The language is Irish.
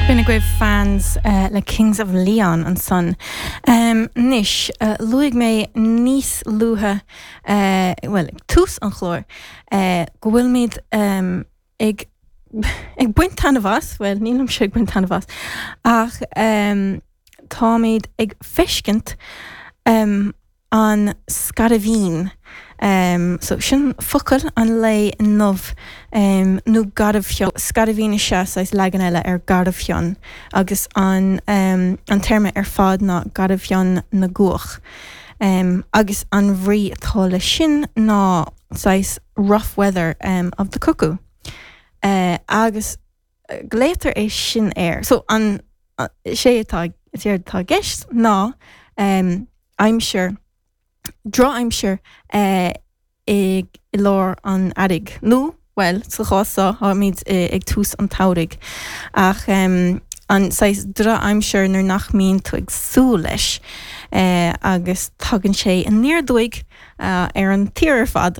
B'in agaibh Fans le Kings of Leon ansan. Anois, luaigh mé níos luaithe, bhuel, ag tús an chláir, go bhfuilimid ag ag baint taitneamh as, bhuel, nílimse ag baint taitneamh as, ach táimid ag feiscint an scairbhín. So, sin focal an lae inniu, nó garbhfhionn. Scairbhín is ea saghas leagan eile ar garbhfhionn, agus an an téarma ar fad ná garbhfhionn na gcuach. Agus an bhrí atá leis sin ná saghas rough weather of the cuckoo. Agus glaotar é sin air. So, an, is é atá, is éard atá i gceist ná aimsir, drochaimsir i lár an earraigh, nó, bhuel, sa chás seo, táimid ag tús an tsamhraidh, ach an saghas drochaimsir nuair nach mbíonn tú ag súil leis agus tagann sé aniar aduaidh ar an tír ar fad.